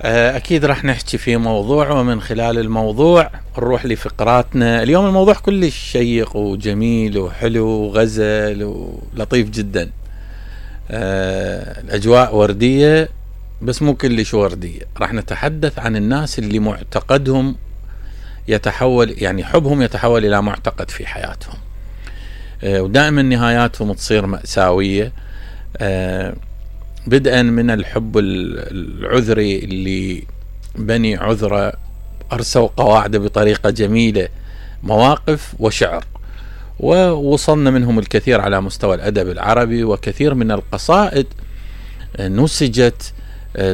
أكيد راح نحكي في موضوع، ومن خلال الموضوع نروح لفقراتنا. اليوم الموضوع كلش شيق وجميل وحلو وغزل ولطيف جدا. الأجواء وردية بس مو كلش وردية. راح نتحدث عن الناس اللي معتقدهم يتحول، يعني حبهم يتحول إلى معتقد في حياتهم، ودائما نهاياتهم تصير مأساوية، بدءا من الحب العذري اللي بني عذرة أرسوا قواعده بطريقة جميلة، مواقف وشعر، ووصلنا منهم الكثير على مستوى الأدب العربي، وكثير من القصائد نسجت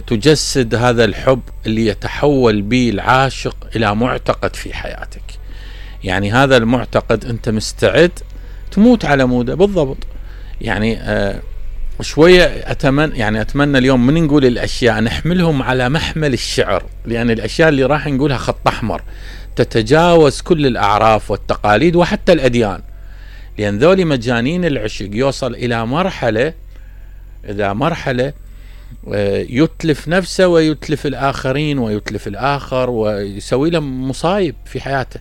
تجسد هذا الحب اللي يتحول به العاشق إلى معتقد في حياتك. يعني هذا المعتقد أنت مستعد تموت على موده بالضبط. يعني شوية أتمنى اليوم من نقول الأشياء نحملهم على محمل الشعر، لأن الأشياء اللي راح نقولها خط أحمر تتجاوز كل الأعراف والتقاليد وحتى الأديان، لأن ذولي مجانين العشق يوصل إلى مرحلة يتلف نفسه ويتلف الآخرين ويتلف الآخر ويسوي له مصايب في حياته.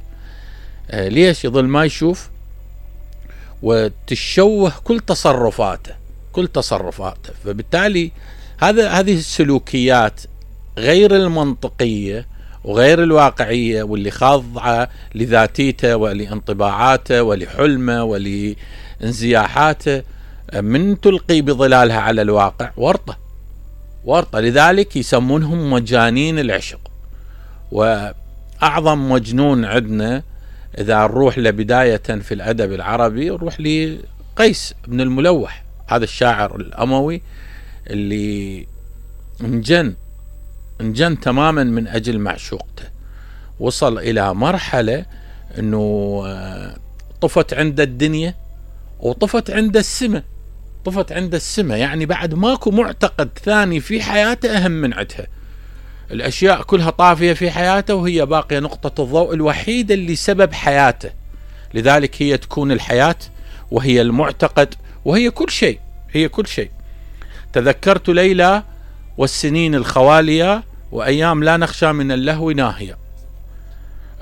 ليش؟ يظل ما يشوف وتشوه كل تصرفاته. فبالتالي هذه السلوكيات غير المنطقية وغير الواقعية، واللي خاضعة لذاتيته ولانطباعاته ولحلمه ولانزياحاته، من تلقي بظلالها على الواقع ورطة. لذلك يسمونهم مجانين العشق. وأعظم مجنون عندنا إذا نروح لبداية في الأدب العربي نروح لقيس بن الملوح، هذا الشاعر الأموي اللي انجن تماما من أجل معشوقته. وصل إلى مرحلة أنه طفت عند الدنيا وطفت عند السماء، يعني بعد ماكو معتقد ثاني في حياته أهم من عدها. الأشياء كلها طافية في حياته وهي باقية نقطة الضوء الوحيدة اللي سبب حياته. لذلك هي تكون الحياة، وهي المعتقد، وهي كل شيء. تذكرت ليلى والسنين الخوالية وأيام لا نخشى من اللهو ناهية.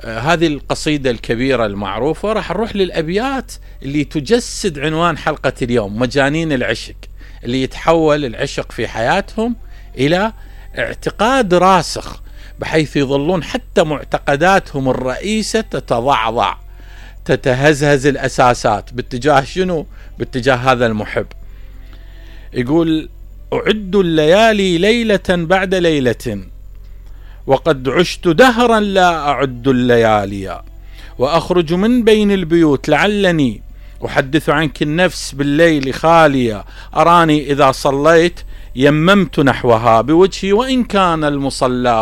هذه القصيدة الكبيرة المعروفة. راح نروح للأبيات اللي تجسد عنوان حلقة اليوم، مجانين العشق، اللي يتحول العشق في حياتهم إلى اعتقاد راسخ، بحيث يظلون حتى معتقداتهم الرئيسة تتضعضع، تتهزهز الأساسات باتجاه شنو؟ باتجاه هذا المحب. يقول: أعد الليالي ليلة بعد ليلة، وقد عشت دهرا لا أعد الليالي، وأخرج من بين البيوت لعلني أحدث عنك النفس بالليل خالية، أراني إذا صليت يممت نحوها بوجهي وإن كان المصلى